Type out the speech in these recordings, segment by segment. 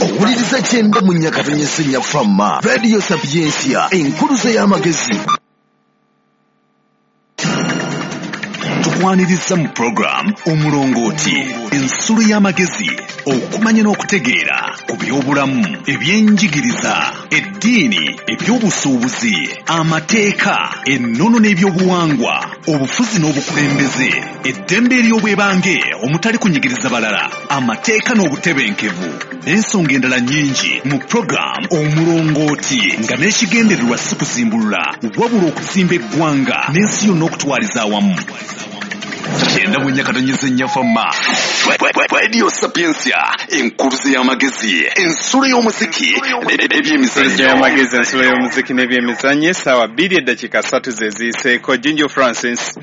Owuliriza kyenda mu nyakatonyesenya Fama Radio Sapientia, enkuluze y'amagezi. Tukwaniriza mu program Omulongooti, ensulo y'amagezi, okumanya n'okutegeera ku by'obulamu, ebyenjigiriza, eddiini, ebyobusuubuzi, amateeka, ennono n'ebyobuwangwa, obufuzi n'obukulembeze, eddembe ery'obwebange omutali kunyigiriza balala, amateeka n'obutebenkevu, n'ensonga endala nnyingi mu program Omulongooti, nga n'ekigendererwa si kuzimbulula wabula okuzimba eggwanga n'ensi yonna okutwaliza awamu. Kyenda mu nyakatonyeze Fama Radio Sapientia, enkuluze y'amagezi, ensulo y'omuziki n'ebyemizannyo. Y'amagezi, ensulo y'omuziki n'ebyemizannyo. Essaawa 2:03 ze ziyiseeko. Jinjo Francis,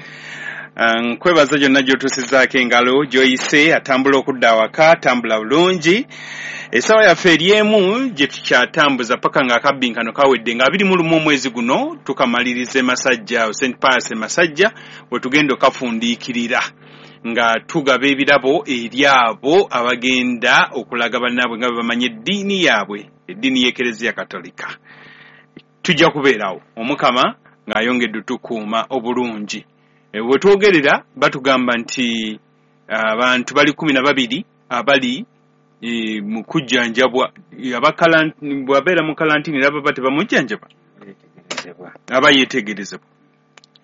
nkwebaza gyonna gy'otuusizaako engalo, gy'oyise atambula okudda awaka, tambula bulungi. Essaawa yaffe eri emu gye tukyatambuza paka ng'akabbinkano kawedde, nga 21 omwezi guno tukamaliriza e Masajja, St Pius e Masajja, we tugenda okafundiikirira nga tugaba ebirabo eri abo abagenda okulaga bannaabwe nga bwe bamanyi eddiini yaabwe, eddiini y'Ekereziya Katolika. Tujja kubeerawo Omukama ng'ayongedde otukuuma obulungi. We twogerera batugamba nti abantu bali 12 abali mu kujjanjabwa. Bw'abeera mu kalantini era baba tebamujjanjaba, aba yeetegerezebwa,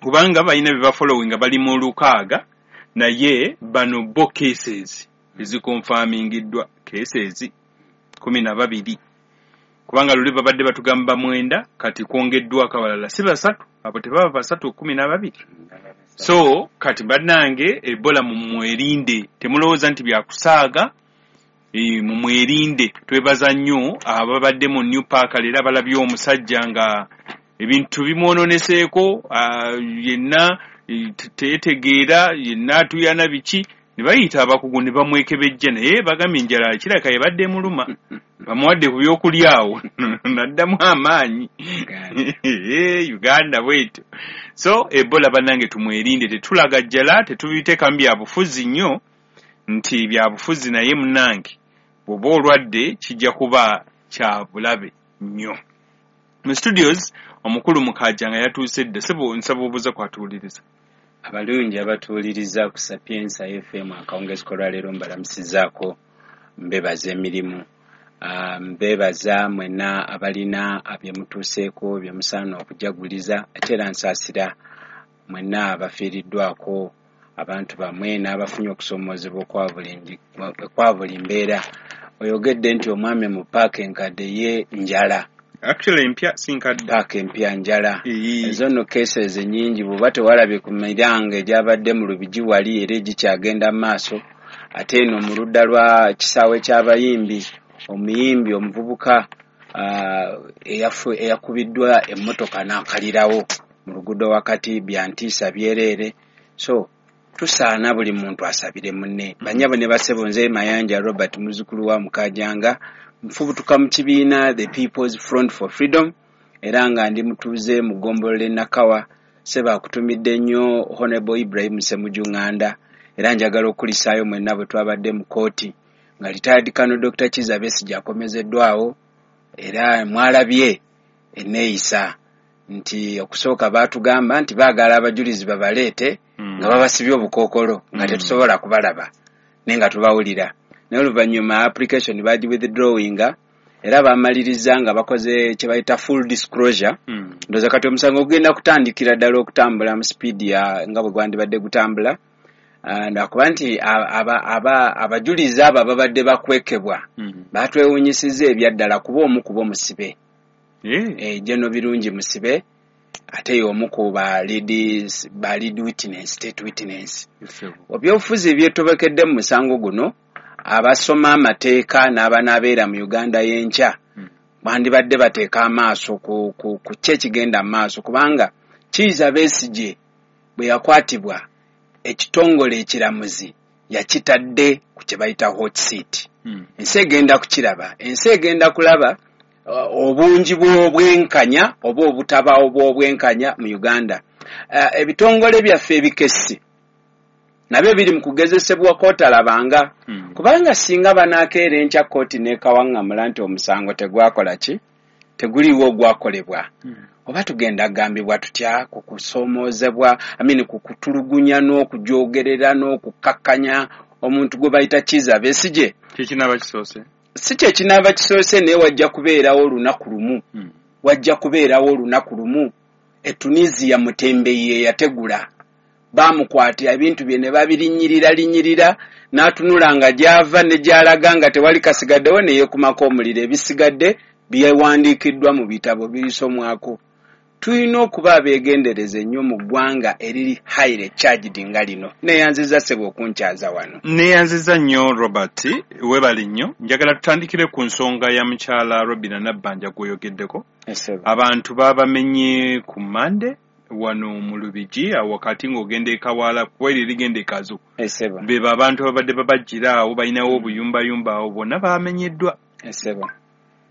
kubanga balina bye bafollowinga, bali mu 6, naye bano bo cases ezikonfamingiddwa cases 12, kubanga luli babadde batugamba 9, kati kwongeddwako abalala si 3, abo tebaba 3, 12. So kati bannange, Ebola mumwerinde, temulowooza nti byakusaaga, mumwerinde. Twebaza nnyo ababadde mu New Park leero abalabye omusajja nga ebintu bimwononeseeko, yenna teyetegeera, yenna atuyana biki, ne bayita abakugu ne bamwekebejja, naye bagambye enjala kirabika yebadde emuluma, bamuwadde ku byokulya awo n'addamu amaanyi. Uganda bwetyo. So Ebola bannange tumwerinde, tetulagajjala, tetubiteekamu byabufuzi nnyo nti byabufuzi, naye munnange bw'oba olwadde kijja kuba kya bulabe nnyo. Mu studios omukulu Mukajja nga yatuuse dda. Sebo, nsaba obuuza kwatuwuliriza. Abalungi abatuwuliriza ku Sapientia FM akawungeezi k'olwaleero, mbalamusizaako, mbebaza emirimu, mbebaza mwenna abalina bye mutuuseeko bye musaana okujaguliza, ate era nsaasira mwenna abafiiriddwako abantu bamwe n'abafunye okusoomoozebwa okwa buli mbeera. Oyogedde nti omwami mu paaka enkadde ye njala. Actually empya, si nkadde. Paaka empya njala. Ezo nno cases nnyingi, bw'oba tewalabye ku miranga egyabadde mu Lubigi wali era egikyagenda mu maaso, ate eno mu ludda lwa kisaawe ky'abayimbi, omuyimbi omuvubuka eyakubiddwa emmotoka n'akalirawo mu luguudo wakati, byantiisa byereere. So tusaana buli muntu asabire munne. Bannyabo ne bassebo, nze Mayanja Robert, muzzukulu wa Mukajanga, nfubutuka mu kibiina The People's Front for Freedom, era nga ndi mutuuze mu ggombolola e Nakawa. Ssebo, akutumidde nnyo Honorable Ibrahim Ssemujju Nganda, era njagala okukulisaayo mwenna bwe twabadde mu kkooti nga retired Colonel Dr. Kizza Besigye akomezeddwawo, era mwalabye enneeyisa nti okusooka baatugamba nti baagala abajulizi babaleete nga babasibye obukookolo, nga tetusobola kubalaba naye nga tubawulira, naye oluvannyuma application bagi withdrawinga era bamaliriza nga bakoze kye bayita full disclosure. Ndowooza kati omusango gugenda kutandikira ddala okutambula mu speed ya nga bwe gwandibadde gutambula, lwakuba nti abajulizi abo ababadde bakwekebwa batwewuunyisizza ebyaddala, kuba omu kuba omusibe, General Birungi musibe, ate y'omu ku ba lead witness, state witness. Ebyobufuzi ebyetobekedde mu musango guno, abasoma amateeka n'abanaabeera mu Uganda y'enkya bandibadde bateeka amaaso ku ki ekigenda mu maaso, kubanga Kizza Besigye bwe yakwatibwa, ekitongole ekiramuzi yakitadde ku kye bayita hot seat. Ensi egenda kukiraba, ensi egenda kulaba obungi bw'obwenkanya oba obutabaawo bw'obwenkanya mu Uganda. Ebitongole byaffe ebikessi Nabyo biri mu kugezesebwa kootalabanga. Kubanga singa banaakeera enkya kkooti n'ekawaŋŋamula nti omusango tegwakola ki, teguliiwo ogwakolebwa, oba tugenda kugambibwa tutya ku kusoomoozebwa, amini, ku kutulugunya n'okujoogerera n'okukkakkanya omuntu gwe bayita Kiiza Besigye? Kyekinaba kisoose? Si kyekinaaba kisoose, naye wajja kubeerawo olunaku lumu. Wajja kubeerawo olunaku lumu. E Tunisia Mutembeyi eyategula baamukwata ebintu bye ne babirinnyirira linnyirira, n'atunula nga gy'ava ne gy'alaga nga tewali kasigaddewo, ne yeekumako omuliro. Ebisigadde byewandiikiddwa mu bitabo birisomwako. Tulina okuba abeegendereza ennyo mu ggwanga eriri highly charged nga lino. Neeyanziza ssebo okunkyaza wano. Neeyanziza nnyo Robert, weebale nnyo. Njagala tutandikire ku nsonga ya mukyala Robina Nabbanja gw'oyogeddeko. Abantu baabamenye ku Mande wano mu Lubigi awo wakati ng'ogenda e Kawaala, kuba eryo erigenda e Kazo. Bebo abantu ababadde babajjira awo, balinawo obuyumbayumba awo, bonna bamenyeddwa.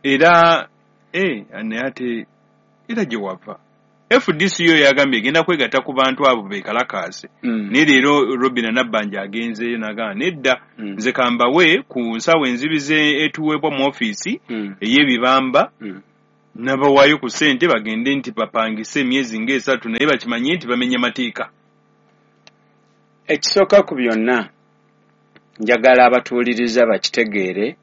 Era naye ate era gye wava FDC yo yagambye egenda kwegatta ku bantu abo beekalakaase. Naye leero Robina Nabbanja agenzeeyo n'agamba nedda, nze kambawe ku nsawo enzibizi etuweebwa mu ofiisi ey'ebibamba, n'abawaayo ku ssente bagende nti bapangise emyezi ng'esatu, naye bakimanye nti bamenya mateeka. Ekisooka ku byonna, njagala abatuwuliriza bakitegeere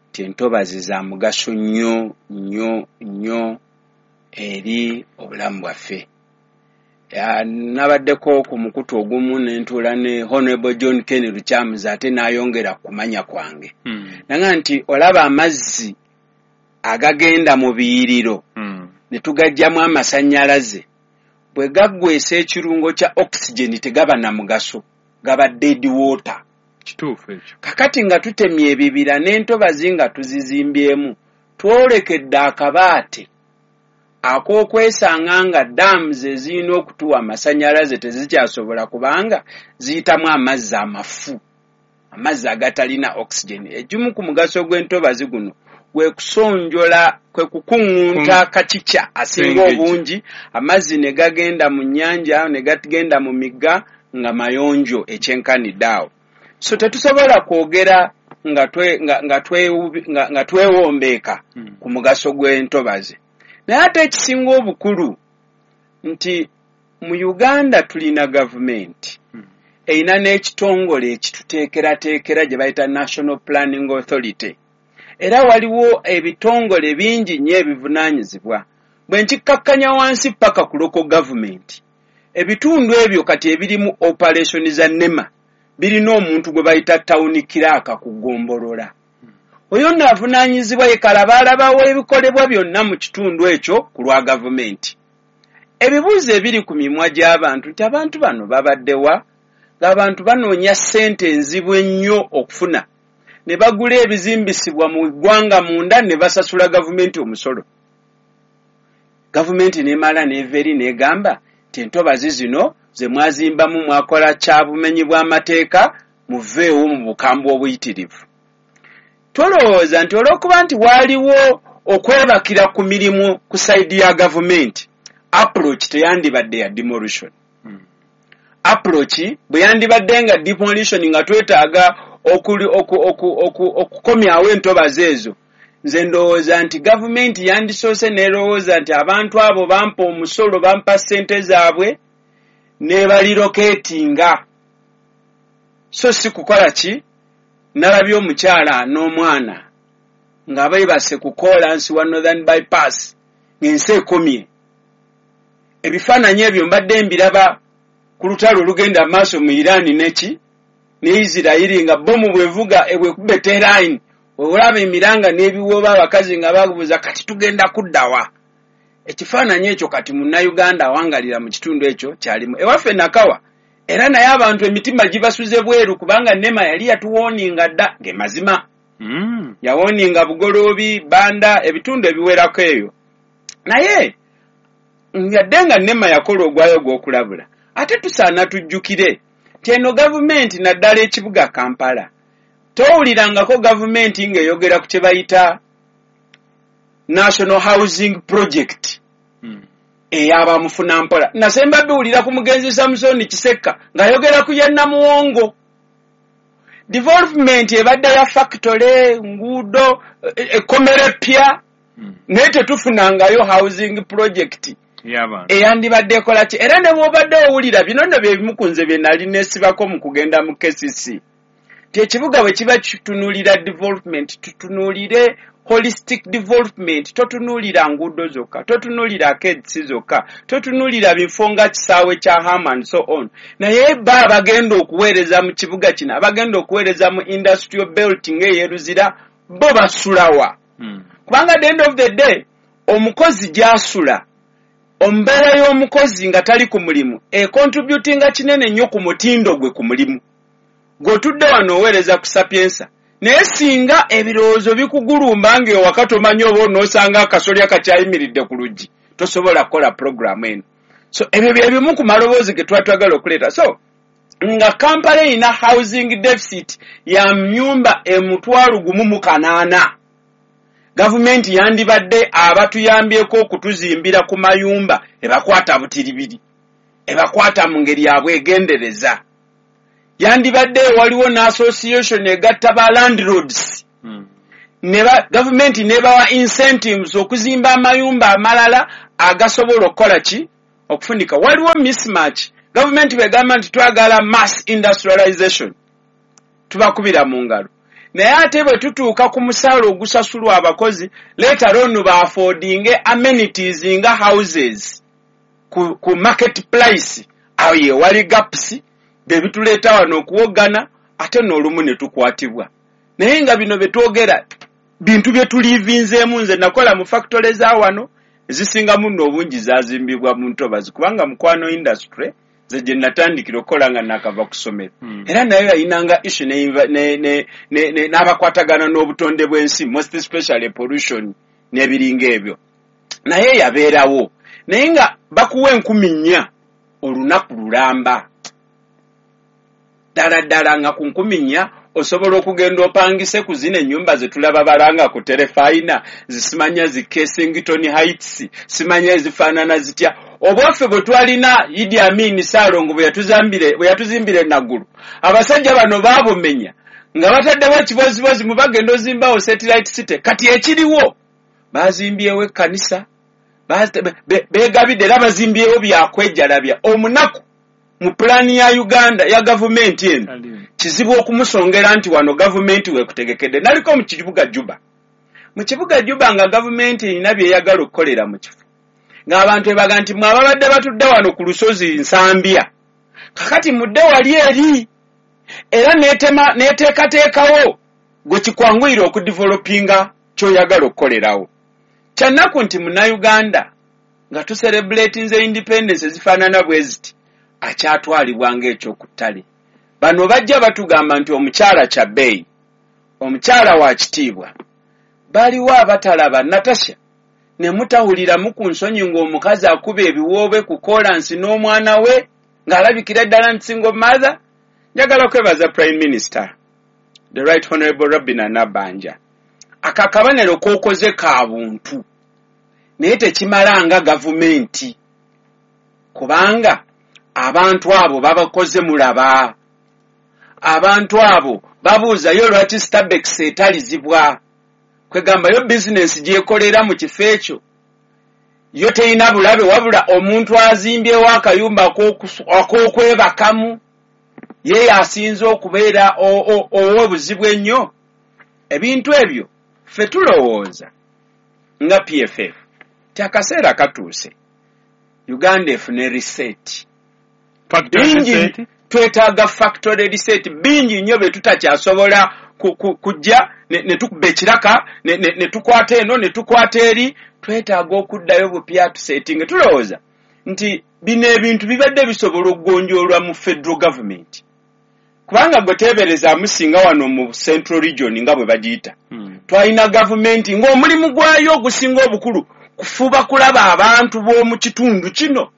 nti entobazi za mugaso nnyo nnyo nnyo eri obulamu bwaffe. Nabaddeko ku mukutu ogumu ne ntuula ne Honorable John Ken Lukyamuzi, ate n'ayongera ku kumanya kwange. Nanga nti olaba amazzi agagenda mu biyiriro ne tugaggyamu amasannyalaze, bwe gaggweesa ekirungo kya oxygen tegaba na mugaso, gaba dead water. Kituufu ekyo. Kakati nga tutemye ebibira n'entobazi nga tuzizimbyemu, twolekedde akabaate ak'okwesanga nga dams ezirina okutuwa amasannyalaze tezikyasobola, kubanga ziyitamu amazzi amafu, amazzi agatalina oxygen. Ekimu ku mugaso gw'entobazi guno gwe kusonjola, kwe kukuŋŋunta kacica asinga obungi, amazzi ne gagenda mu nnyanja ne gagenda mu migga nga mayonjo ekyenkanidde awo. So tetusobola kwogera nga twewombeeka ku mugaso gw'entobazi. Naye ate ekisinga obukulu nti mu Uganda tulina gavumenti erina n'ekitongole ekituteekerateekera gye bayita National Planning Authority. Era waliwo ebitongole bingi nnyo ebivunaanyizibwa. Bwe nkikkakkanya wansi paka ku local government, ebitundu ebyo kati ebirimu operation za NEMA birina omuntu gwe bayita town clerk ku ggombolola. Oyo nno avunaanyizibwa ye kalabaalaba w'ebikolebwa byonna mu kitundu ekyo ku lwa gavumenti. Ebibuuzo ebiri ku mimwa gy'abantu nti abantu bano babaddewa, ng'abantu banoonya ssente enzibu ennyo okufuna, ne bagula ebizimbisibwa mu ggwanga munda ne basasula gavumenti omusolo. Gavumenti n'emala n'eva eri n'egamba nti entobazi zino ze mwazimbamu mwakola kya bumenyi bw'amateeka, muveewo mu bukambwe obuyitirivu. Tolowooza nti olw'okuba nti waaliwo okwebakira ku mirimu ku side ya gavumenti, approach teyandibadde ya demolition. Approach bwe yandibadde nga demolition, nga twetaaga okukomyawo entobazi ezo, nze ndowooza nti gavumenti yandisoose n'erowooza nti abantu abo bampa omusolo, bampa ssente zaabwe, ne barelocatinga. So si kukola ki? Nalabye omukyala n'omwana nga beebase ku koolansi wa Northern Bypass ng'ensi ekomye. Ebifaananyi ebyo mbadde mbiraba ku lutalo olugenda maaso mu Iran neki ne Isirayiri, nga bomu bwevuga bwekuba Tehran, olaba emiranga n'ebiwooba, abakazi nga babuuza kati tugenda kuddawa. Ekifaananyi ekyo kati munnayuganda awangalira mu kitundu ekyo kyalimu ewaffe Nakawa, era naye abantu emitima gibasuze bweru, kubanga NEMA yali yatuwarninga dda ge mazima. Yawarninga Bugoloobi, Banda, ebitundu ebiwerako eyo. Naye yadde nga NEMA yakola ogwayo ogw'okulabula, ate tusaana tujjukire nti eno gavumenti, naddala ekibuga Kampala, towulirangako gavumenti ng'eyogera ku kye bayita National Housing Project. Ey'abamufuna mpola. Nasemba biwulira ku mugenzi Samusoni Kisekka ng'ayogera ku ya Namuwongo. Development ebadde ya factory, nguudo, ekkomera eppya, naye tetufunangayo housing project eyandibadde ekola ki. Era ne bw'obadde owulira bino nno bye bimu ku nze bye nali neesibako mu kugenda mu KCC, nti ekibuga bwe kiba kitunuulira development, tutunuulire holistic development. Totunuulira nguudo zokka, totunuulira arcades zokka, totunuulira bifo nga kisaawe kya Ham and so on, naye ba abagenda okuweereza mu kibuga kino, abagenda okuweereza mu industrial belt ng'ey'e Luzira, bo basulawa? Kubanga at the end of the day, omukozi gy'asula, embeera y'omukozi nga tali ku mulimu econtributinga kinene nnyo ku mutindo gwe ku mulimu. Gw'otudde wano oweereza ku Sapientia, naye singa ebirowoozo bikugulumba ng'ewaka tomanyi oba onoosanga akasolya kakyayimiridde ku luggi, tosobola kukola puroguramu eno. So ebyo bye bimu ku maloboozi ge tuba twagala okuleeta. So nga Kampala erina housing deficit ya myumba 1,080, gavumenti yandibadde abatuyambyeko okutuzimbira ku mayumba ebakwata butiribiri, ebakwata mu ngeri yabwegendereza. Yandibadde waliwo n'association egatta ba landlords, gavumenti nebawa incentives okuzimba amayumba amalala agasobola okukola ki, okufunika. Waliwo mismatch. Gavumenti bwegamba nti twagala mass industrialization, tubakubira mu ngalo, naye ate bwe tutuuka ku musaala ogusasulwa abakozi, later on baaffordinge amenities nga houses ku market price, awo ye wali gaps bebituleeta wano okuwoggana, ate n'olumu ne tukwatibwa. Naye nga bino bye twogera bintu bye tulivinzeemu. Nze nakola mu factory za wano, ezisinga muno obungi zazimbibwa mu ntobazi, kubanga Mukwano Industry nze gye natandikira okukola nga nakava ku ssomero. Era nayo yayinanga issue n'abakwatagana n'obutonde bw'ensi, most especially pollution n'ebiringa ebyo, naye yabeerawo. Naye nga bakuwa 4,000 olunaku lulamba, ddala ddala nga ku 4,000 osobola okugenda opangise ku zino ennyumba ze tulaba balanga ku terefayina, zisimanya zi Kensington Heights, simanya ezifaanana zitya. Obwaffe bwe twalina Idi Amin Saalongo bwe yatuzimbira enaggulu, abasajja bano baabumenya nga bataddewo ekibozibozi mu bagenda ozimbawo satellite city. Kati ekiriwo, bazimbyewo ekkanisa, beegabidde era bazimbyewo byakwejalabya. Omunaku mu pulaani ya Uganda ya gavumenti eno kizibu okumusongera nti wano gavumenti weekutegekedde. Naliko mu kibuga Juba, mu kibuga Juba nga gavumenti erina byeyagala okukolera mu kifo, ng'abantu ebaga nti mwe ababadde batudde wano ku lusozi Nsambya, kakati mudde wali eri, era neteekateekawo gwe kikwanguyira okudevelopinga ky'oyagala okukolerawo. Kyannaku nti Munnayuganda nga tucelebratinze independence ezifaanana bwe ziti akyatwalibwa ng'ekyokuttale. Bano bajja batugamba nti omukyala kya bbeeyi, omukyala wa kitiibwa. Baliwo abatalaba Natasha ne mutawuliramu ku nsonyi ng'omukazi akuba ebiwoobe ku koolansi n'omwana we ng'alabikira ddala nti single mother. Njagala kwebaza Prime Minister, the Right Honorable Robina Nabbanja. Aka kabonero k'okoze ka buntu, naye tekimala nga gavumenti, kubanga abantu abo babakoze mulaba. Abantu abo babuuzayo lwaki Stabex etalizibwa, kwegambayo bizinensi gyekolera mu kifo ekyo yo terina bulabe, wabula omuntu azimbyewo akayumba ak'okwebakamu ye yasinze okubeera ow'obuzibu ennyo. Ebintu ebyo ffe tulowooza nga PFF ti akaseera katuuse Uganda efune reset. Bingi twetaaga factory reset, bingi nnyo bye tutakyasobola kujja ne tukuba ekiraka ne tukwata eno ne tukwata eri. Twetaaga okuddayo bupya tusettinge. Tulowooza nti bino ebintu bibadde bisobola okugonjoolwa mu federal government, kubanga gwe teeberezaamu singa wano mu Central Region nga bwe bagiyita, twalina gavumenti ng'omulimu gwayo ogusinga obukulu kufuba kulaba abantu b'omu kitundu kino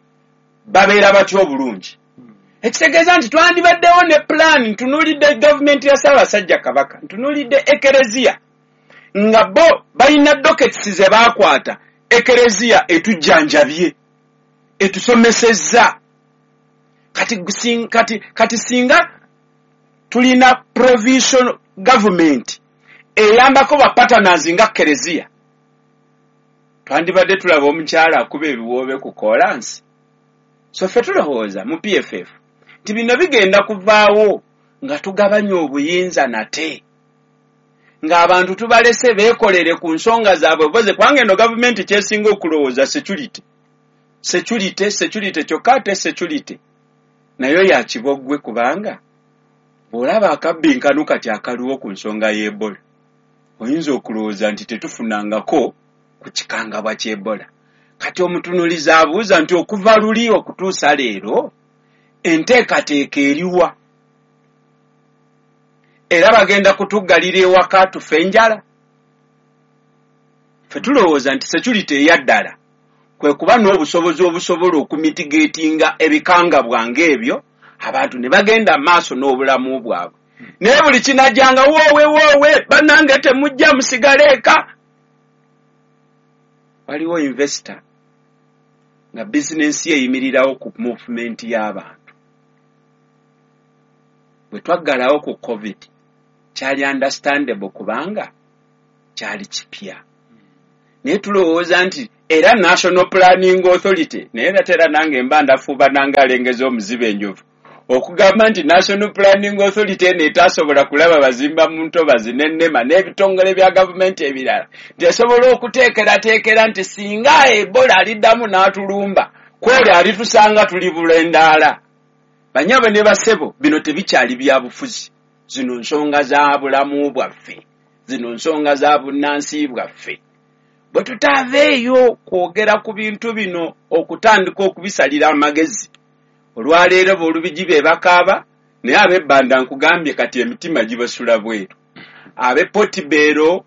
babeera batya obulungi, ekitegeeza nti twandibaddewo ne pulaani. Ntunuulidde gavumenti ya Ssaabasajja Kabaka, ntunuulidde ekereziya nga bo balina dockets ze baakwata. Ekereziya etujjanjabye. Etusomesezza. Kati singa tulina provisional government eyambako ba partners nga Kereziya, twandibadde tulaba omukyala akuba ebiwoobe ku kolansi. So ffe tulowooza mu PFF nti bino bigenda kuvaawo nga tugabanya obuyinza nate, ng'abantu tubalese beekolere ku nsonga zaabwe boze, kubanga eno gavumenti kyesinga okulowooza security, security, security. Kyokka ate security nayo ya kiboggwe, kubanga bw'olaba akabbinkano kati akaliwo ku nsonga y'Ebola, oyinza okulowooza nti tetufunangako ku kikangabwa ky'Ebola. Kati omutunulizi abuuza nti okuva luli okutuusa leero enteekateeka eriwa? Era bagenda kutuggalira ewaka tufe enjala? Ffe tulowooza nti security eyaddala kwe kuba n'obusobozi obusobola okumitigatinga ebikangabwa ng'ebyo, abantu ne bagenda maaso n'obulamu bwabwe. Naye buli kinajjanga woowe woowe, bannange temujja, musigale eka. Waliwo investor nga bizinensi ye eyimirirawo ku movement y'abantu. Bwe twaggalawo ku COVID kyali understandable kubanga kyali kipya, naye tulowooza nti era National Planning Authority, naye era tera nange mba ndafuuba nange alengeza omuzibe enjovu okugamba nti National Planning Authority eno etasobola kulaba bazimba mu ntobazi n'ennema n'ebitongole bya gavumenti ebirala, nti esobola okuteekerateekera nti singa Ebola aliddamu n'atulumba, kwoli alitusanga tuli bulendaala. Banyabo ne basebo, bino tebikyali bya bufuzi, zino nsonga za bulamu bwaffe, zino nsonga za bunnansi bwaffe. Bwe tutaaveeyo kwogera ku bintu bino okutandika okubisalira amagezi, olwaleero boolubigi be bakaaba, naye ab'ebbanda nkugambye kati emitima gibasula bweru. Ab'e Portbell,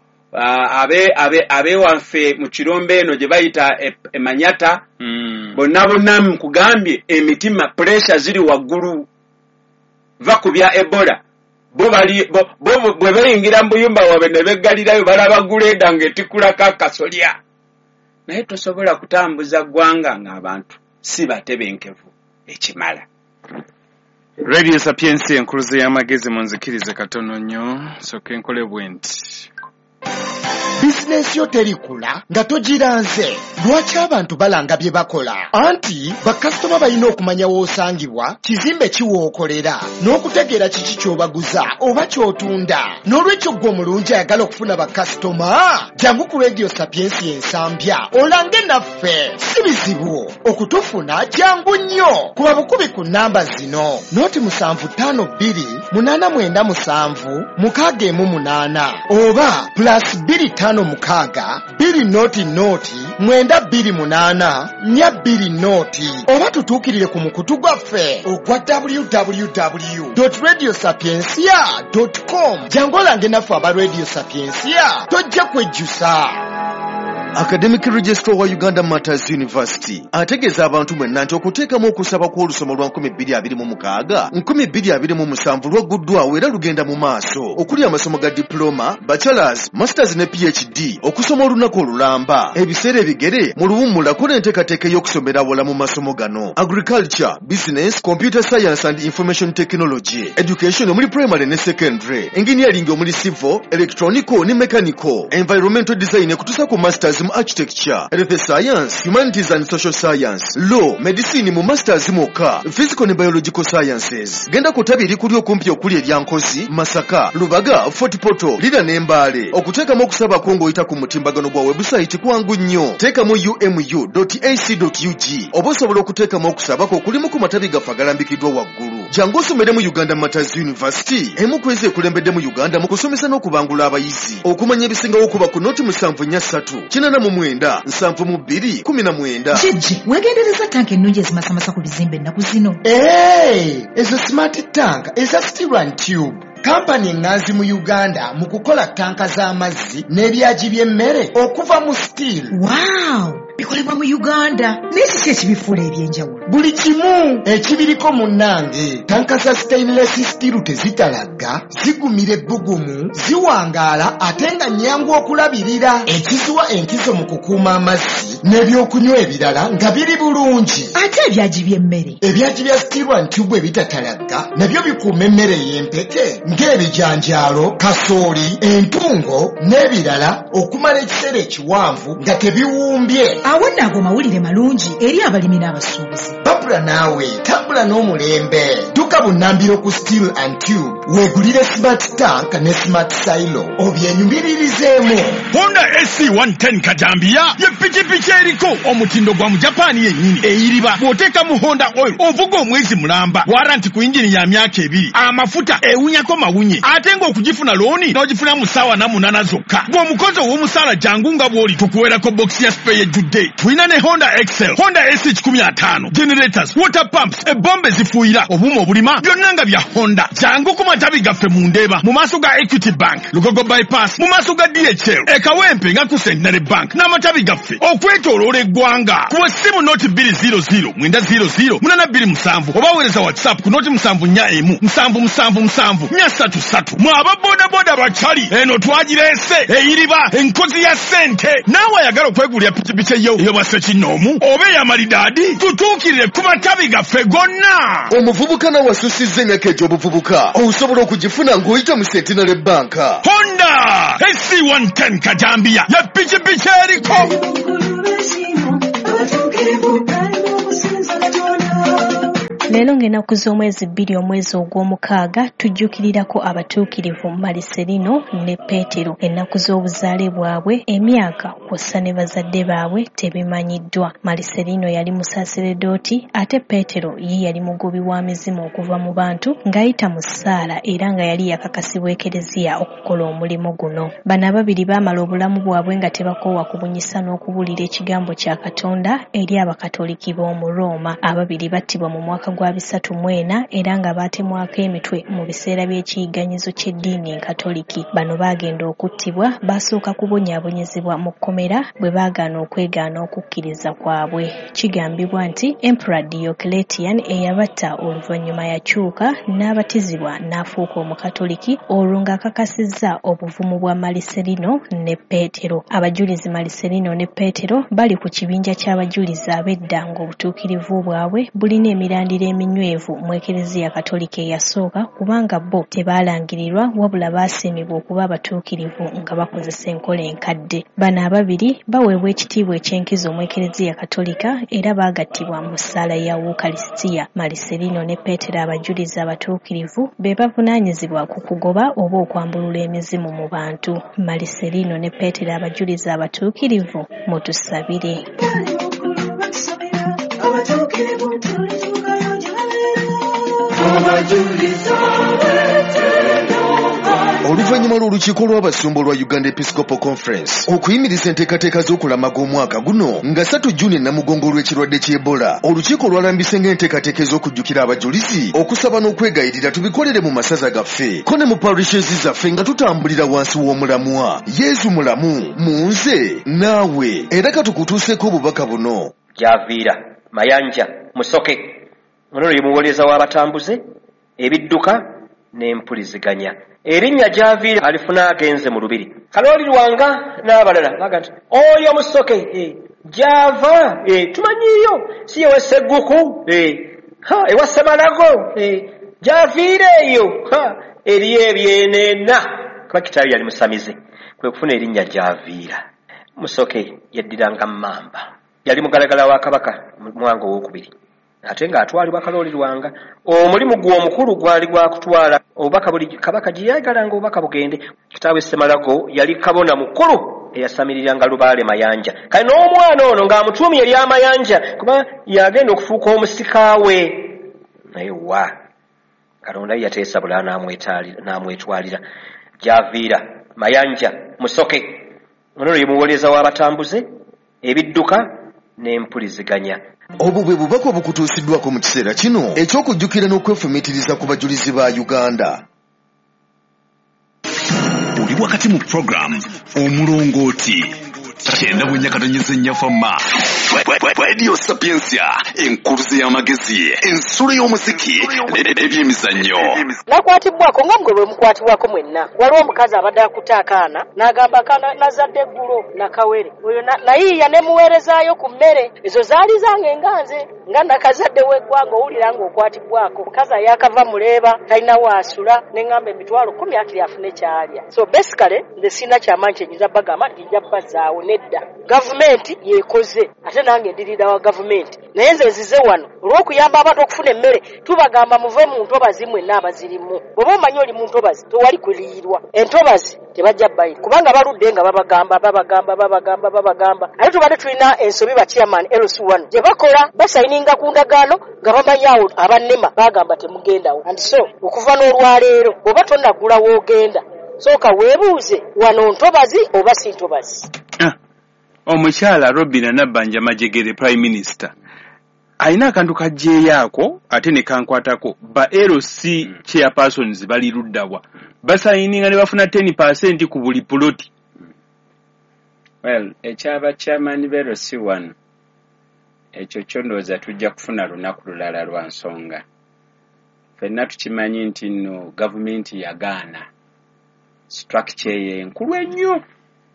ab'ewaffe mu kirombe eno gye bayita Emanyata, bonna bonna nkugambye emitima pressure ziri waggulu. Va ku bya Ebola, bo bali bo bwe bayingira mu buyumba bwabwe ne beggalirayo, balaba guleeda ng'etikkulako akasolya. Naye tosobola kutambuza ggwanga ng'abantu si batebenkevu ekimala. Radio Sapiensia, enkuluze y'amagezi. Munzikirize katono nnyo soka enkole bwe nti. Bizinensi yo terikula nga togiranze. Lwaki abantu balanga bye bakola? Anti bakasitoma balina okumanya w'osangibwa, kizimbe kiwookolera, n'okutegeera kiki ky'obaguza oba ky'otunda. N'olwekyo ggwe omulungi ayagala okufuna bakasitoma, jangu ku Radio Sapiensi Ensambya olange naffe. Si bizibu okutufuna, jangu nnyo kuba bukubi ku namba zino: 075 289 7 618 oba +256 200 928 420, oba tutuukirire ku mukutu gwaffe ogwa www radio sapiencia com. Jangu olange naffe aba Radio Sapiencia, tojja kwejjusa. Academic Registrar wa Uganda Martyrs University ategeeza abantu mwenna nti okuteekamu okusaba kw'olusoma lwa 2026 2027 lwagguddwawo era lugenda mu maaso, okuli amasomo ga diploma, bachelors, masters ne PhD, okusoma olunaku olulamba, ebiseera ebigere, mu luwummulako n'enteekateeka ey'okusomera awala mu masomo gano: agriculture, business, computer science and information technology, education omuli primary ne secondary, engineering omuli civil, electronical ne mechanical, environmental design, ekutuusa ku masters mu architecture, health science, humanities and social science, law, medicine mu masters mwokka, physical ne biological sciences. Genda ku ttabi erikuli okumpi okuli erya Nkozi, Masaka, Lubaga, Fort Portal, Lira ne Mbaale. Okuteekamu okusabako ng'oyita ku mutimbagano gwa webusayiti kwangu nnyo, teekamu umu ac ug, oba osobola okuteekamu okusabako okulimu ku matabi gaffe agalambikiddwa waggulu. Jangu osomere mu Uganda Martyrs University, emu ku ezo ekulembedde mu Uganda mu kusomesa n'okubangula abayizi. Okumanya ebisingawo kuba ku 074 89 72 19. Jjejje, weegendereza tanka ennungi ezimasamasa ku bizimbe ennaku zino? Hey, ezo smart tank eza Steel and Tube, kampani eŋŋanzi mu Uganda mu kukola tanka z'amazzi n'ebyagi by'emmere okuva mu steel. Wow! Bikolebwa mu Uganda. Naye kiki ekibifuula eby'enjawulo? Buli kimu ekibiriko munnange. Tanka za stainless steel tezitalagga, zigumira ebbugumu, ziwangaala ate nga nnyangu okulabirira. Ekiziwa enkizo mu kukuuma amazzi n'ebyokunywa ebirala nga biri bulungi. Ate ebyagi by'emmere? Ebyagi bya steel and tube ebitatalagga nabyo bikuuma emmere ey'empeke ng'ebijanjaalo, kasooli, entungo n'ebirala okumala ekiseera ekiwanvu nga tebiwumbye. Awo nno ago mawulire malungi eri abalimi n'abasuubuzi. Babula naawe tambula n'omulembe. Dduka bunnambiro ku Steel and Tube weegulire smart tank ne smart silo obyenyumiririzeemu. Honda SC 110 Kajambiya ye pikipiki eriko omutindo gwa Mujapaani yennyini eyiriba. Bw'oteeka mu Honda oil ovuga omwezi mulamba, waranti ku yingini ya myaka 2, amafuta ewunyako mawunye, ate ng'okugifuna looni n'ogifuna mu ssaawa 8 zokka. Bw'omukozi ow'omusaala jangu nga bw'oli tukuweerako bokisi ya spare ejjudde. Tulina ne Honda XL, Honda SC 150, generators, water pumps, ebombe zifuuyira, obuuma obulima, byonna nga bya Honda. Jangu ku matabi gaffe mu Ndeeba, mu maaso ga Equity Bank, Lugogo Bypass, mu maaso ga DHL, e Kawempe nga ku Centenary Bank, n'amatabi gaffe okwetooloola eggwanga. Kuba essimu noti 200 900 827 oba weereza WhatsApp ku noti 741 777 433. Mwe aba bodaboda bakyali, eno twagireese eyiriba enkozi ya ssente. Naawe ayagala okwegulira pikipiki eyo ey'obwa ssekinnoomu oba ey'amalidaadi, tutuukirire ku matabi gaffe gonna. Omuvubuka nawe asusizza emyaka egy'obuvubuka osobola okugifuna ng'oyita mu Centenary Bank. Honda SC 110 Kajambiya ye pikipiki eriko. Leero ng'ennaku z'omwezi 2 omwezi ogw'omukaaga tujjukirirako abatuukirivu Maliserino ne Peetero. Ennaku z'obuzaale bwabwe, emyaka kw'ossa ne bazadde baabwe tebimanyiddwa. Maliserino yali musaseredooti ate Peetero ye yali mugobi wa mizimu okuva mu bantu ng'ayita mu ssaala era nga yali yakakasibwa Ekereziya okukola omulimu guno. Bano ababiri baamala obulamu bwabwe nga tebakoowa kubunyisa n'okubuulira ekigambo kya Katonda eri Abakatoliki b'omu Rooma. Ababiri battibwa mu mwaka gwa 34 era nga baatemwako emitwe mu biseera by'ekiyigganyizo ky'eddiini Enkatoliki. Bano baagenda okuttibwa baasooka kubonyaabonyezebwa mu kkomera bwe baagaana okwegaana okukkiriza kwabwe. Kigambibwa nti Emperor Diocletian eyabatta oluvannyuma yakyuka n'abatizibwa n'afuuka Omukatoliki olwo ng'akakasizza obuvumu bwa Maliserino ne Peetero. Abajulizi Maliserino ne Peetero bali ku kibinja ky'abajulizi ab'edda ng'obutuukirivu bwabwe bulina emirandira eminywevu mu Ekereziya Katolika eyasooka kubanga bo tebaalangirirwa wabula baasiimibwa okuba abatuukirivu nga bakozesa enkola enkadde. Bano ababiri baweebwa ekitiibwa eky'enkizo mu Ekereziya Katolika era baagattibwa mu ssaala ya Wukalisitiya. Maliserino ne Peetero abajulizi abatuukirivu be bavunaanyizibwa ku kugoba oba okwambulula emizimu mu bantu. Maliserino ne Peetero abajulizi abatuukirivu mutusabire. Oluvannyuma lw'olukiiko lw'abasumba olwa Uganda Episcopal Conference okuyimiriza enteekateeka z'okulamaga omwaka guno nga 3 Juni Namugongo olw'ekirwadde ky'Ebola, olukiiko lwalambise ng'enteekateeka ez'okujjukira abajulizi, okusaba n'okwegayirira tubikolere mu masaza gaffe ko ne mu parishes zaffe nga tutambulira wansi w'omulamwa Yesu mulamu mu nze naawe. Era katukutuuseeko obubaka buno. Javiira Mayanja Musoke ono ye muwolereza w'abatambuze ebidduka n'empuliziganya. Erinnya Javiira alifuna agenze mu lubiri. Kalooli Lwanga n'abalala baga nti oyo Musoke gyava tumanyiiyo si ye Sseguku ewa Ssemalago Javiira eyo eriyo ebyenena kuba kitaawe yali musamize kwe kufuna erinnya Javiira. Musoke yaddiranga Mmamba, yali mugalagala wa Kabaka Mwanga owokubiri ate ng'atwalibwa Kalooli Lwanga. Omulimu gwe omukulu gwali gwa kutwala obubaka buli kabaka gye yayagalanga obubaka bugende. Kitaawe Ssemalago yali kabona mukulu eyasamiriranga Lubaale Mayanja. Kale n'omwana ono ng'amutuumye ery'Amayanja kuba yagenda okufuuka omusika we. Naye wa Katonda ye yateesa bulala n'amwetwalira. Javiira Mayanja Musoke ono ye muwolereza w'abatambuze ebidduka n'empuliziganya. Obwo bwe bubaka obukutuusiddwako mu kiseera kino eky'okujjukira n'okwefumiitiriza ku bajulizi ba Uganda. Oli wakati mu program Omulongooti. 94.4 Fama Radio Sapientia, enkuluze y'amagezi, ensulo y'omuziki n'ebyemizannyo. Nakwatibwako nga mugwe bwe mukwatibwako mwenna. Waliwo omukazi abadde akutte akaana n'agamba akaana nazadde eggulo nakawere oyo nayiiya ne muweerezaayo ku mmere ezo zaali zange nga nze nga nakazadde w'eggwanga owulira ng'okwatibwako. Omukazi ayakava muleeba talina waasula ne ŋŋamba 10,000 akiri afune ky'alya. So basically nze sirina kyamaanyi kye nnyinza bagamba nti nja bazzaawo nedda. Gavumenti yeekoze ate nange ndirira wa gavumenti, naye nze nzize wano olw'okuyamba abantu okufuna emmere. Tubagamba muve mu ntobazi mwenna abazirimu. Bw'oba omanyi oli mu ntobazi tewali kuliirwa. Entobazi tebajja bayira kubanga baludde nga babagamba babagamba babagamba babagamba. Ate tubadde tulina ensobi ba chairman LC1 gye bakola basayininga ku ndagaano nga bamanyi awo abannema bagamba temugendawo. And so okuva n'olwaleero bw'oba tonnagula w'ogenda sooka weebuuze wano ntobazi oba si ntobazi. Omukyala Robina Nabbanja Majegere Prime Minister alina akantu kajjeeyaako ate ne kankwatako. Ba LC chairpersons bali luddawa basayininga ne bafuna 10% ku buli puloti. Well, ekyaba chairman ba LC1 ekyo kyo ndowooza tujja kufuna lunaku lulala lwa nsonga. Ffenna tukimanyi nti nno gavumenti yagaana structure eyo enkulu ennyo,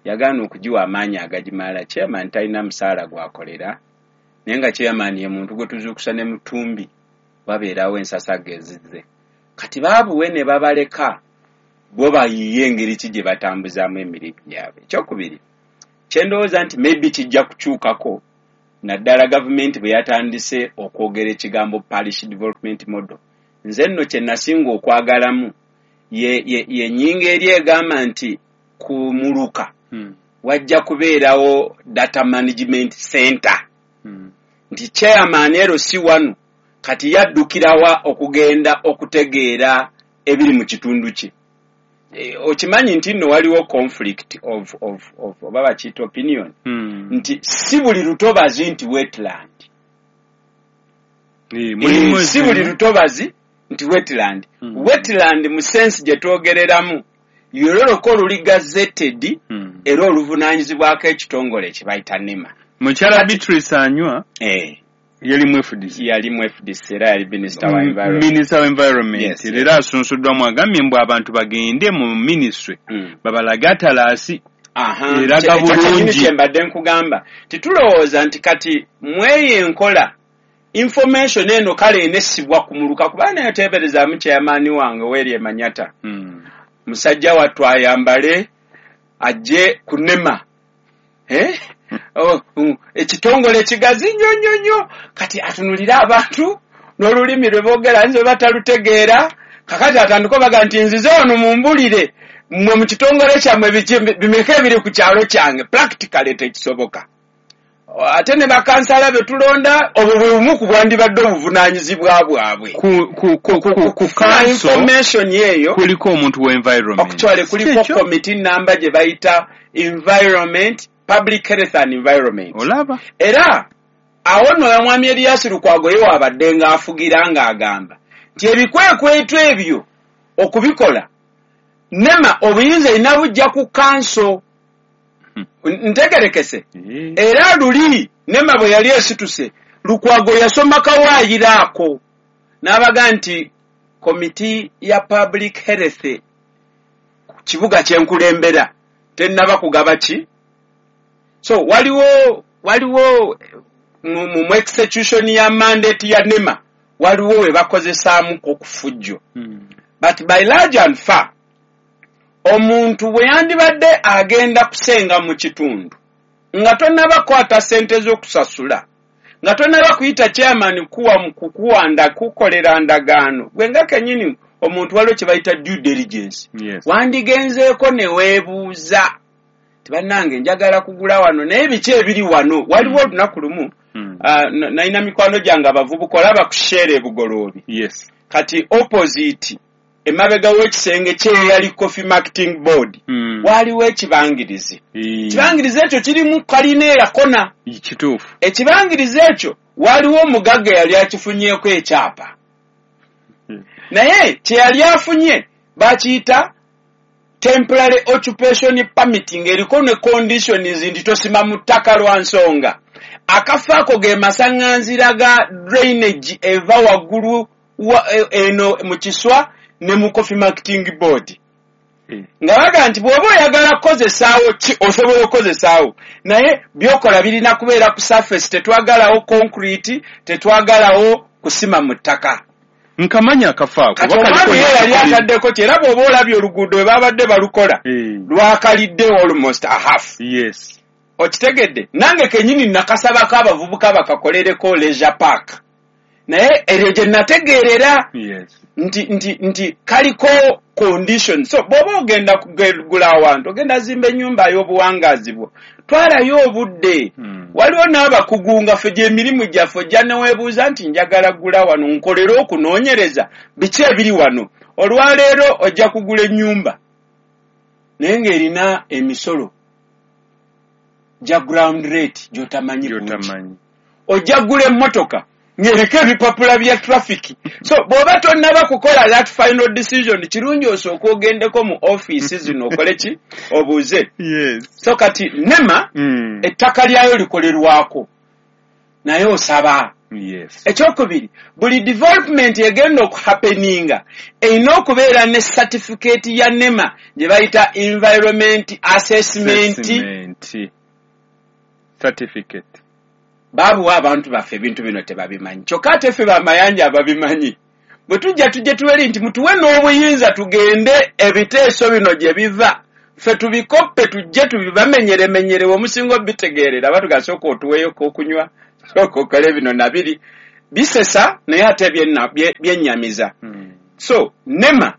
yagaana okugiwa amaanyi agagimala. Chairman talina musaala gwakolera, naye nga chairman ye muntu gwe tuzuukusa ne mutumbi wabeerawo ensasagge ezizze. Kati baabuwe ne babaleka bo bayiye engeri ki gye batambuzaamu emirimu gyabwe. Ekyokubiri kye ndowooza nti maybe kijja kukyukako naddala gavumenti bwe yatandise okwogera ekigambo parish development model. Nze nno kye nasinga okwagalamu ye nnyingo eri egamba nti ku muluka wajja kubeerawo data management center. Nti chairman LC1 kati yaddukirawa okugenda okutegeera ebiri mu kitundu kye. Okimanyi nti nno waliwo conflict of oba bakiyita opinion nti si buli lutobazi nti wetland. Si buli lutobazi nti wetland. Wetland mu sense gye twogereramu yololoko oluli gazetted era oluvunaanyizibwako ekitongole ekibayita NEMA. Mukyala Beatrice Anywa yali mu FDC. Yali mu FDC era yali minister wa environment. Minister wa environment. Era asunsuddwamu agambye mbu abantu bagende mu ministry babalage atalaasi eraga bulungi. Kye mbadde nkugamba titulowooza nti kati mweyo enkola information eno kale enessibwa ku muluka kuba nayo teeberezaamu chairman wange weeri Emanyata. Musajja wattu ayambale ajje ku NEMA. Ekitongole kigazi nnyo nnyo nnyo kati atunulire abantu n'olulimi lwe boogera nze batalutegeera. Kakati atandika obaga nti nzize wano mumbulire mmwe mu kitongole kyammwe bimeka ebiri ku kyalo kyange. Practically tekisoboka. Ate ne bakansala be tulonda obwo bwe bumu ku bwandibadde obuvunaanyizibwa bwabwe. Ku information eyo kuliko omuntu wa environment. Actually kuliko committee number gye bayita environment, public health and environment. Olaba. Era awo nno omwami Erias Lukwago ye waabadde ng'afugira ng'agamba nti ebikwekweto ebyo okubikola NEMA obuyinza erina bujja ku kanso. Ntegerekese. Era luli NEMA bwe yali esituse Lukwago yasoma kawaayiro ako n'abaga nti komiti ya public health ku kibuga kye nkulembera tennaba kugaba ki. So waliwo mu execution ya mandate ya NEMA waliwo we bakozesaamu okufujjo. But by large and far omuntu bwe yandibadde agenda kusenga mu kitundu nga tonnaba kukwata ssente z'okusasula, nga tonnaba kuyita chairman kukuwanda kukolera ndagaano, gwe nga kennyini omuntu waliwo kye bayita due diligence. Wandigenzeeko ne weebuuza bannange njagala kugula wano naye biki ebiri wano. Waliwo olunaku lumu nalina mikwano gyange abavubuka olaba ku Shell e Bugoloobi. Kati opposite emabega w'ekisenge kyeyali Coffee Marketing Board waliwo ekibangirizi. Ekibangirizi ekyo kirimu kalina eyakona. Kituufu. Ekibangirizi ekyo waliwo omugagga yali akifunyeeko ekyapa. Naye kye yali afunye bakiyita Temporary occupation permit ng'eriko ne conditions nti tosima mu ttaka lwa nsonga. Akafo ako ge masaŋŋanzira ga drainage eva waggulu eno mu Kiswa ne mu Coffee Marketing Board. Nga baga nti bw'oba oyagala kukozesaawo ki osobola okukozesaawo, naye by'okola birina kubeera ku surface, tetwagalawo concrete, tetwagalawo kusima mu ttaka. Nkamanya akafo ako. Kati omwami ye yali ataddeko ki, era bw'oba olabye oluguudo we babadde balukola lwakalidde almost a half. Okitegedde? Nange kennyini nakasabako abavubuka bakakolereko leisure park, naye eryo gye nategeerera nti kaliko condition. So bw'oba ogenda kugula awantu, ogenda zimba ennyumba y'obuwangaazi bwo, twalayo obudde. Waliwo n'abakugu nga ffe gy'emirimu gyaffe, ojja neweebuuza nti njagala gula wano, nkolere okunoonyereza biki ebiri wano. Olwaleero ojja kugula ennyumba naye ng'erina emisolo gya ground rate gy'otamanyi bungi. Ojja kugula emmotoka ng'eriko ebipapula bya traffic. So bw'oba tonnaba kukola that final decision, kirungi osooke ogendeko mu ofiisi zino okole ki, obuuze. So kati NEMA ettaka lyayo likolerwako, naye osaba. Ekyokubiri, buli development egenda okuhappeninga erina okubeera ne certificate ya NEMA gye bayita environment assessment certificate. Baabuwa abantu baffe ebintu bino tebabimanyi, kyokka ate ffe bamayanja ababimanyi bwe tujja tujje tuweri nti mutuwe n'obuyinza tugende ebiteeso bino gye biva, ffe tubikoppe tujje tubibamenyeremenyere, omusinga obitegeerera batuga sooka otuweeyoko okunywa, sooka okole bino nabiri bisesa, naye ate byennyamiza. So NEMA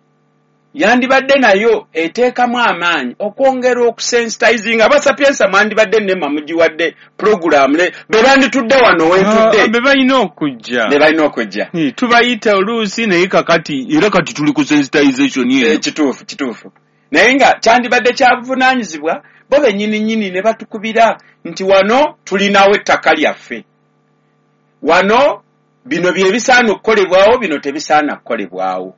yandibadde nayo eteekamu amaanyi okwongera okusensitizinga abasapiensa. Mwandibadde NEMA mugiwadde puroguramu be banditudde wano wentudde, be balina okujja, be balina okujja. Tubayita oluusi, naye kakati era kati tuli ku sensitization eno. Kituufu, kituufu, naye nga kyandibadde kyabuvunaanyizibwa bo bennyini nnyini ne batukubira nti wano tulinawo ettaka lyaffe, wano bino bye bisaana okukolebwawo, bino tebisaana kukolebwawo.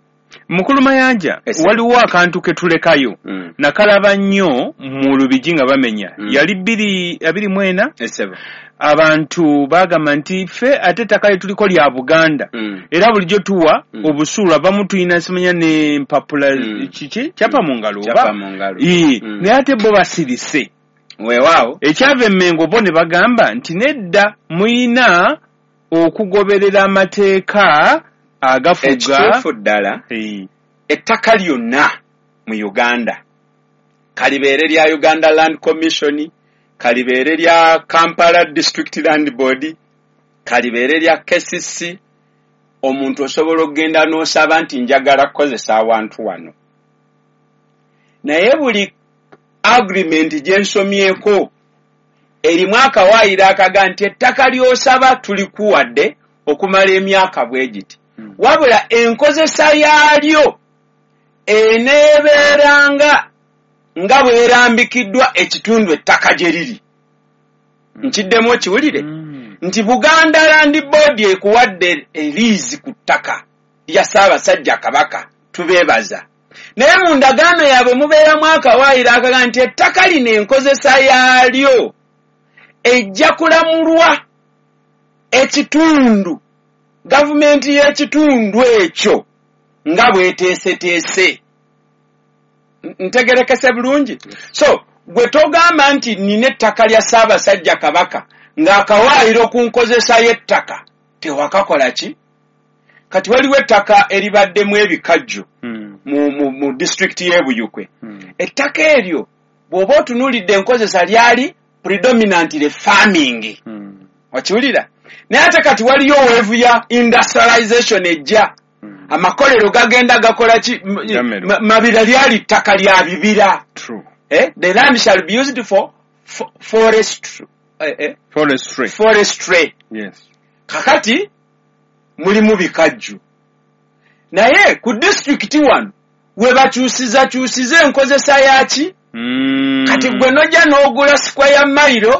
Mukulu Mayanja, waliwo akantu ke tulekayo. Nakalaba nnyo mu Lubigi nga bamenya. Yali 2024, abantu bagamba nti ffe ate ettaka lye tuliko lya Buganda, era bulijjo tuwa obusuulu, abamu tulina simanya n'empapula kiki kyapa mu ngalo oba, naye ate bo basirise. Weewaawo. Ekyava Emmengo bo ne bagamba nti nedda, muyina okugoberera amateeka agafuga. Ekituufu ddala, ettaka lyonna mu Uganda, kalibeere lya Uganda Land Commission, kalibeere lya Kampala District Land Board, kalibeere lya KCC, omuntu osobola okugenda n'osaba nti njagala kukozesa awantu wano. Naye buli agreement gye nsomyeko erimu akawaayiro akaga nti ettaka ly'osaba tulikuwadde okumala emyaka bwe giti, wabula enkozesa yaalyo eneebeeranga nga bw'erambikiddwa ekitundu ettaka gye riri. Nkiddemu okiwulire nti Buganda Land Board ekuwadde eliizi ku ttaka lya Ssaabasajja Kabaka, tubeebaza, naye mu ndagaano yaabwe mubeeramu akawaayiro akaga nti ettaka lino enkozesa yaalyo ejja kulamulwa ekitundu, gavumenti y'ekitundu ekyo nga bw'eteeseteese. Ntegerekese bulungi? So gwe togamba nti nina ettaka lya Ssaabasajja Kabaka ng'akawaayiro ku nkozesa y'ettaka tewakakola ki. Kati waliwo ettaka eribaddemu ebikajjo mu disitulikiti y'e Buyukwe. Ettaka eryo bw'oba otunuulidde enkozesa lyali predominantly farming, okiwulira? Naye ate kati waliyo wave ya industrialization ejja, amakolero gagenda gakola ki, Mabira lyali ttaka lya bibira. The land shall be used for forestry. Forestry. Kakati mulimu bikajjo, naye ku disitulikiti wano we bakyusiza kyusiza enkozesa yaki. Kati gwe nojja n'ogula square mile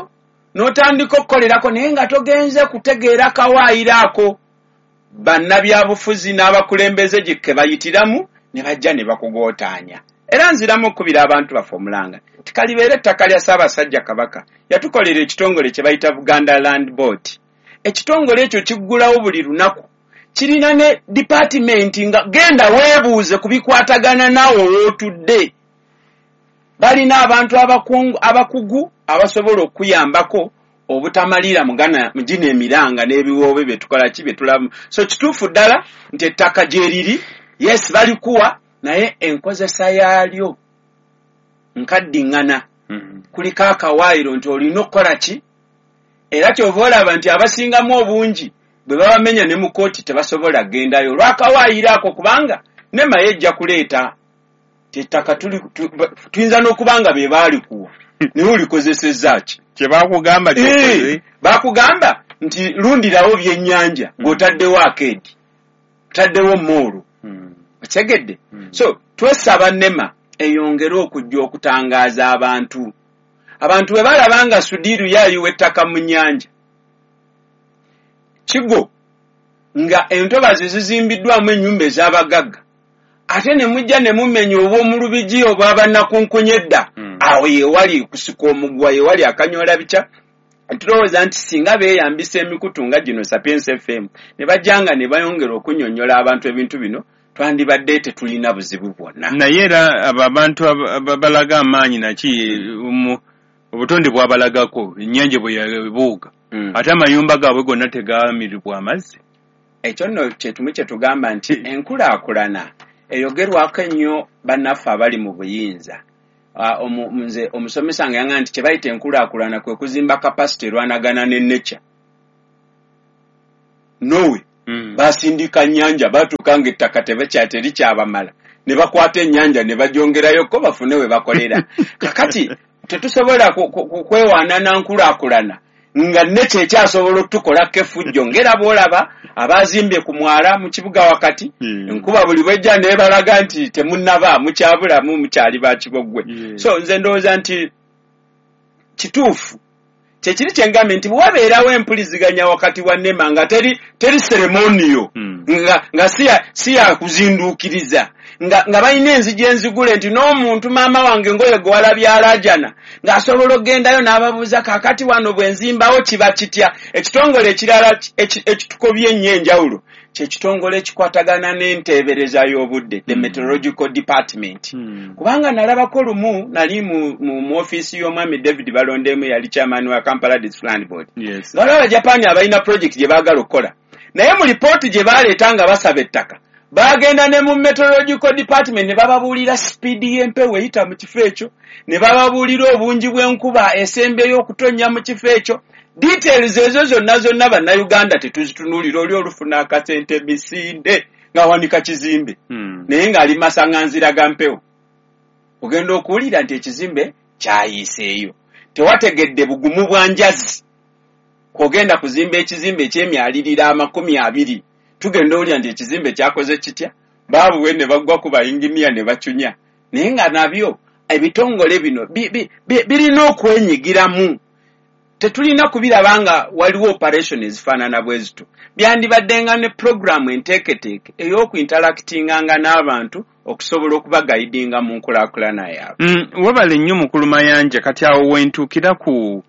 n'otandika okukolerako, naye nga togenze kutegeera kawaayiro ako bannabyabufuzi n'abakulembeze gye bayitiramu ne bajja ne bakugootaanya. Era nziramu okukubira abantu baffe omulanga nti kalibeere ettaka lya Ssaabasajja Kabaka. Yatukolera ekitongole kye bayita Buganda Land Board. Ekitongole ekyo kiggulawo buli lunaku, kirina ne dipaatimenti nga genda weebuuze ku bikwatagana naawe wootudde. Balina abantu abakugu abasobola okukuyambako obutamalira mu gino emiranga n'ebiwoobe bye tukola ki bye tulamu. So kituufu ddala nti ettaka gye riri, yes, balikuwa, naye enkozesa yaalyo nkaddiŋŋana. Kuliko akawaayiro nti olina okukola ki, era kyova olaba nti abasingamu obungi bwe babamenya ne mu kkooti tebasobola kugendayo olw'akawaayiro ako, kubanga NEMA ejja kuleeta ti ettaka tuyinza n'okuba nga be baalikuwa naye olikozesezza ki? Kye baakugamba ky'okoze. Baakugamba nti lundirawo byennyanja ng'otaddewo akeedi, otaddewo moolo. Otegedde? So twesaba NEMA eyongere okujja okutangaaza abantu. Abantu bwe balaba nga Sudiiru yayiwa ettaka mu nnyanja Kigo, nga entobazi zizimbiddwamu ennyumba ez'abagagga, ate ne mujja ne mumenya obw'omulubigi obw'abannakunkunya edda, awo yewali kusika omuguwa, yewali akanyoola bikya. Tulowooza nti singa beeyambisa emikutu nga gino Sapientia FM ne bajja nga ne bayongera okunnyonnyola abantu ebintu bino, twandibadde tetulina buzibu bwonna. Naye era abo abantu balaga amaanyi naki obutonde bwabalagako ennyanja bwe yabuuga, ate amayumba gaabwe gonna tegamiribwa amazzi. Ekyo nno kyetumu kye tugamba nti enkulaakulana eyogerwako ennyo bannaffe abali mu buyinza. Nze omusomesa nga yangamba nti kye bayita enkulaakulana kwe kuzimba capacity erwanagana ne nature. Nowe basindika nnyanja, batuuka ng'ettaka terikyabamala, ne bakwata ennyanja ne bagyongerayoko bafune we bakolera. Kakati tetusobola kwewaana na nkulaakulana nga nature ekyasobola okutukolako effujjo, ng'era bw'olaba abazimbye ku mwala mu kibuga wakati, enkuba buli bwejja neebalaga nti temunnaba, mukyabulamu, mukyali ba kibogwe. So nze ndowooza nti kituufu kyekiri kye ngambye nti bwe wabeerawo empuliziganya wakati wa NEMA nga teri ceremonial, nga si ya kuzinduukiriza, nga balina enzigi enzigule nti n'omuntu maama wange ngoyo gwe walabye alaajana ng'asobola okugendayo n'ababuuza, kaakati wano bwe nzimbawo kiba kitya? Ekitongole ekirala ekitukobye ennyo enjawulo kyekitongole ekikwatagana n'enteebereza y'obudde, the meteorological department. Kubanga nalabako lumu nali mu ofiisi y'omwami David Balondemu, yali chairman wa Kampala District Land Board, nga waliwo Abajapaani abalina project gye baagala okukola, naye mu lipooti gye baleeta nga basaba ettaka, bagenda ne mu meteorological department ne bababuulira sipiidi y'empewo eyita mu kifo ekyo, ne bababuulira obungi bw'enkuba esembyeyo okutonnya mu kifo ekyo. Details ezo zonna zonna Bannayuganda tetuzitunuulira. Oli olufuna akasente misinde ng'awanika kizimbe, naye ng'ali masaŋŋanzira ga mpewo. Ogenda okuwulira nti ekizimbe kyayiiseeyo, tewategedde bugumu bwa njazi kwogenda kuzimba ekizimbe ekyemyalirira 20. Tugenda owulira nti ekizimbe kyakoze kitya, baabuwe ne baggwa ku bayinginiya ne bacunya. Naye nga nabyo ebitongole bino birina okwenyigiramu. Tetulina kubiraba nga waliwo operation ezifaanana bwe zito. Byandibadde nga ne puroguramu enteeketeeke ey'okuinteractinganga n'abantu okusobola okubaguidinga mu nkulaakulana yaabwe. Webale nnyo mukulu Mayanja. Kati awo wentuukira ku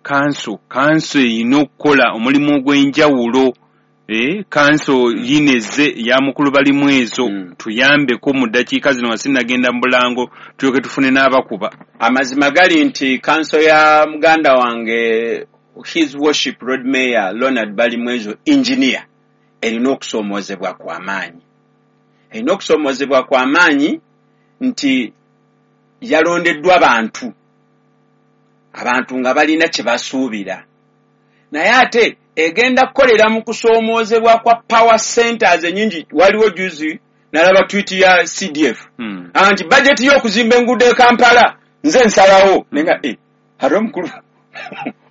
kanso. Kanso erina okukola omulimu ogw'enjawulo. Kanso yineze ya mukulu Balimwezo. Tuyambeko mu ddakiika zino nga sinnagenda mu bulango, tulyoke tufune n'abakuba. Amazima gali nti kanso ya muganda wange, His Worship Lord Mayor Ronald Balimwezo Engineer, erina okusoomoozebwa kw'amaanyi. Erina okusoomoozebwa kw'amaanyi nti yalondeddwa bantu, abantu nga balina kye basuubira, naye ate egenda kukolera mu kusoomoozebwa kwa power centers ennyingi. Waliwo juzi nalaba tweet ya CDF nti budget y'okuzimba enguudo e Kampala nze nsalawo, naye nga ate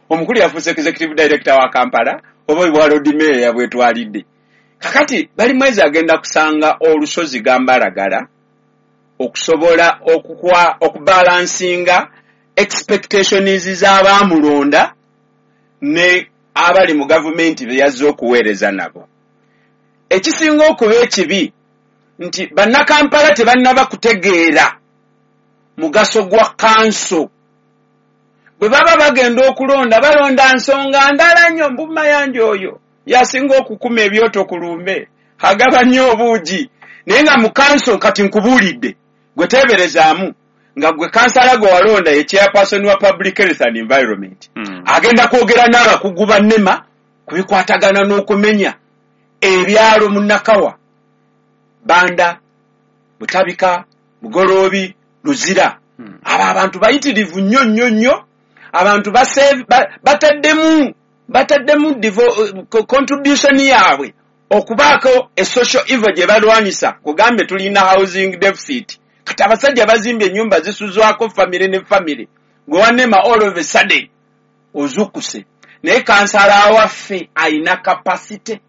omukulu yafuuse executive director wa Kampala oba bwa Lord Mayor yabwetwalidde. Kakati Balimwezo agenda kusanga olusozi gambalagala okusobola okubalancinga expectations z'abaamulonda ne abali mu gavumenti be yazze okuweereza nabo. Ekisinga okuba ekibi nti Bannakampala tebannaba kutegeera mugaso gwa kanso. Bwe baba bagenda okulonda, balonda nsonga ndala nnyo. Mbu Mayanja oyo yasinga okukuma ebyoto ku lumbe, agaba nnyo obuugi. Naye nga mu kanso, kati nkubuulidde, gwe teeberezaamu nga gwe kansala gwe walonda ye chairperson wa public health and environment. Agenda kwogera n'abakugu ba NEMA ku bikwatagana n'okumenya ebyalo mu Nakawa, Banda, Butabika, Bugoloobi, Luzira. Abo abantu bayitirivu nnyo nnyo nnyo. Abantu bataddemu contribution yaabwe okubaako e social evil gye balwanyisa. Kugambe tulina housing deficit, kati abasajja bazimbye ennyumba zisuzwako famire ne famire. Gwe wa NEMA, all of a sudden ozukuse. Naye kansala waffe ayina capacity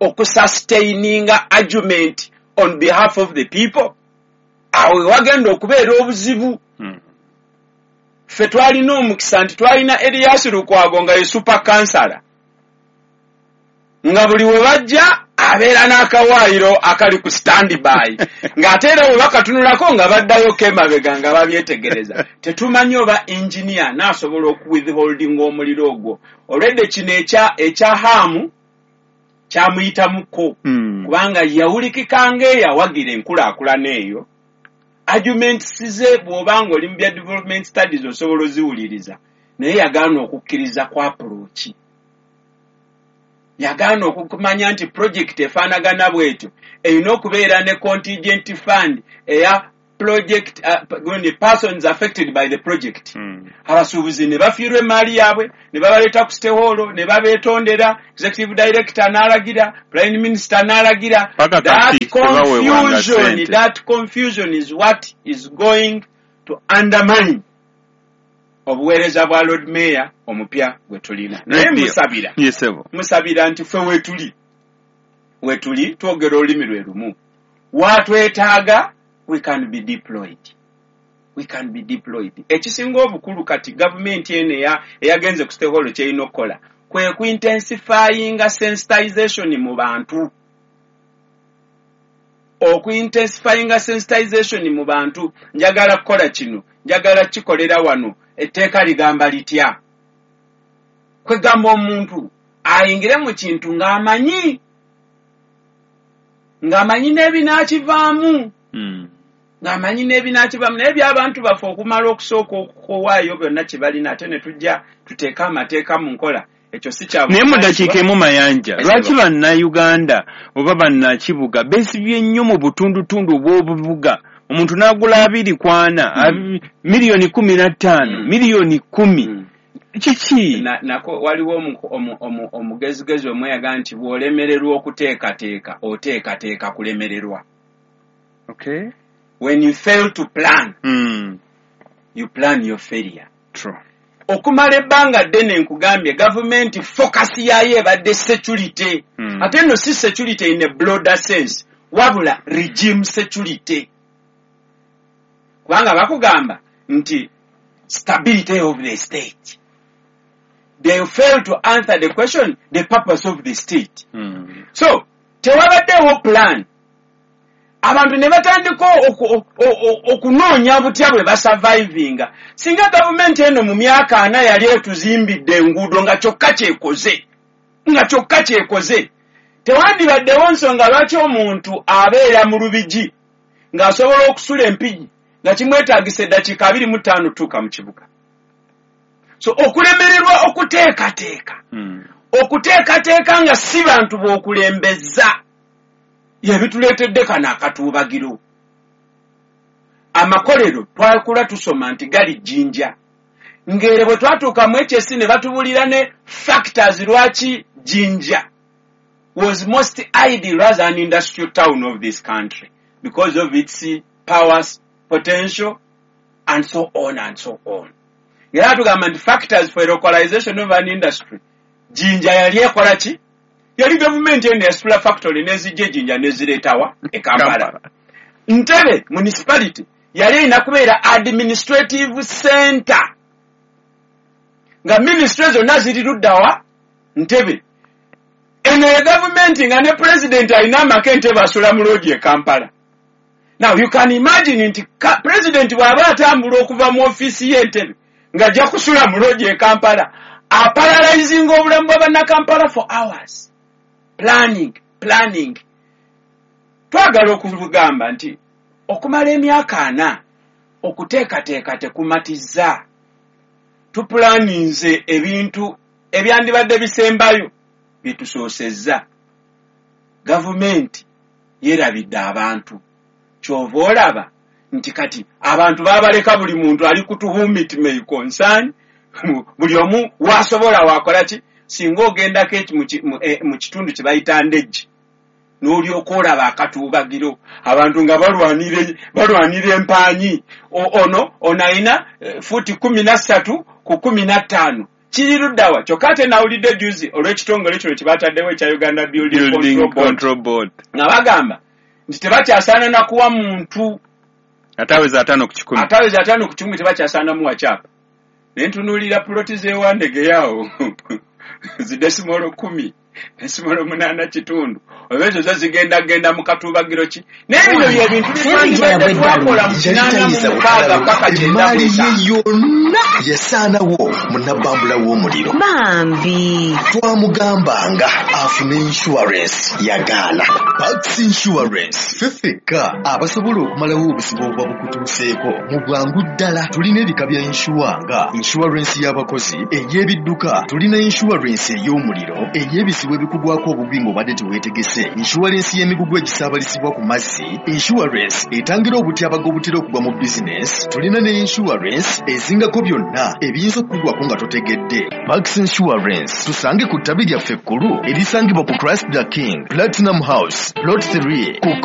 okusustaininga argument on behalf of the people? Awo wagenda okubeera obuzibu. Ffe twalina omukisa nti twalina Erias Lukwago nga ye super kansala, nga buli we bajja abeera n'akawaayiro akali ku standby, ng'ate era bwe bakatunulako nga baddayoko emabega nga babyetegereza. Tetumanyi oba engineer n'asobola okuwithholdinga omuliro ogwo. Olwedde kino ekya Haamu kyamuyitamuko, kubanga yawulikika ng'eyawagira enkulaakulana eyo. Arguments ze, bw'oba nga oli mu bya development studies, osobola oziwuliriza, naye yagaana okukkiriza ku approach, yagaana okumanya nti project efaanagana bwetyo erina okubeera ne contingent fund eya project, persons affected by the project. Abasuubuzi ne bafiirwa emaali yaabwe, ne babaleeta ku City Hall ne babeetondera, executive director n'alagira, prime minister n'alagira. That confusion is what is going to undermine obuweereza bwa Lord Mayor omupya gwe tulina. Naye musabira, musabira nti ffe wetuli twogera olulimi lwe lumu, watwetaaga we can be deployed, we can be deployed. Ekisinga obukulu kati, gavumenti eno eyagenze ku City Hall kyerina okukola kwe kuintensifyinga sensitization mu bantu, okuintensifyinga sensitization mu bantu. Njagala kukola kino, njagala kikolera wano, etteeka ligamba litya? Kwegamba omuntu ayingire mu kintu ng'amanyi n'ebinaakivaamu, ng'amanyi n'ebinaakivaamu. Naye by'abantu baffe okumala okusooka okuwaayo byonna kye balina, ate ne tujja tuteeke amateeka mu nkola, ekyo si kya. Naye mu ddakiika emu, Mayanja, lwaki Bannayuganda oba bannakibuga beesibye nnyo mu butundutundu obw'obubuga, omuntu n'agula 24, miliyoni 15, miliyoni 10? Kiki? Nako waliwo omugezigezi omweyaga nti bw'olemererwa okuteekateeka, oteekateeka kulemererwa. When you fail to plan, you plan your failure. True. Okumala ebbanga ddene, nkugambye, gavumenti focus yaayo ebadde security. Ate nno si security in a broader sense, wabula regime security, kubanga bakugamba nti stability of the state. They fail to answer the question, the purpose of the state. So tewabaddewo plan. Abantu ne batandika okunoonya butya bwe basurvivinga. Singa gavumenti eno mu myaka 40 yali etuzimbidde enguudo, nga kyokka kyekoze, nga kyokka kyekoze, tewandibaddewo nsonga lwaki omuntu abeera mu Lubigi ng'asobola okusula Empigi nga kimwetaagisa eddakiika 25 tutuuka mu kibuga. So okulemererwa okuteekateeka, okuteekateeka nga si bantu b'okulembeza, yebituleetedde kano akatuubagiro. Amakolero twakula tusoma nti gali Jjinja, ngere bwe twatuuka mu HSC ne batubulira ne factors lwaki Jjinja was most ideal as an industrial town of this country, because of its power potential and so on and so on. Era tugamba nti factors for localization of an industry, Jjinja yali ekola ki? Yali gavumenti eno yasitula factory nezijja ejinja nezireetawa e Kampala. Ntebe municipality yali erina kubeera administrative center, nga ministry zonna ziri luddawa? Ntebe. Eno ye gavumenti nga ne pulezidenti alina amaka Entebe, asula mu loogi e Kampala. Now you can imagine nti president bw'aba atambula okuva mu ofiisi y'Entebe ng'ajja kusula mu lodge e Kampala, aparalyzinga obulamu bwa bannakampala for hours, planning, planning. Twagala okugamba nti okumala emyaka 40 okuteekateeka tekumatiza. Tupulaninze ebintu ebyandibadde bisembayo byetusoosezza. Gavumenti yeerabidde abantu. Kyova olaba nti kati abantu babaleka, buli muntu ali ku to whom it may concern, buli omu wasobola wakola ki. Singa ogendako mu kitundu kye bayita Ndejje, n'olyoka olaba akatuubagiro, abantu nga balwanira empanyi. Ono alina fuuti 13 ku 15, kiri luddawa? Kyokka ate nawulidde juzi olw'ekitongole kino kye bataddewo ekya Uganda Building Control Board, nga bagamba nti tebakyasaana nakuwa muntu ataweza 50%. Ataweza 50% tebakyasaana muwa kyapa. Naye ntunuulira puloti z'ewandegeyawo zi decimal 10.85, oba ezo zo zigenda genda mu katuubagiro ki? Naye bino byebintu byetwandibadde twakola mu 86 paka 95. Ye yonna yasaanawo munabbambula w'omuliro. Bambi. Twamugambanga afune insurance, yagaana. Pax Insurance, ffe ffekka abasobola okumalawo obuzibu obuba bukutuuseeko mu bwangu ddala. Tulina ebika bya insure nga insurance y'abakozi, ey'ebidduka, tulina insurance ey'omuliro, ey'ebizibu ebikugwako obugwi ng'obadde teweetegese, insurance y'emigugu egisaabalizibwa ku mazzi, insurance etangira obutyabaga obutera okugwa mu bizinesi. Tulina ne insurance ezingako byonna ebiyinza okukugwako nga totegedde. Pax Insurance, tusange ku ttabi lyaffe ekkulu erisangibwa ku Christ the King Platinum House, Plot 3 ku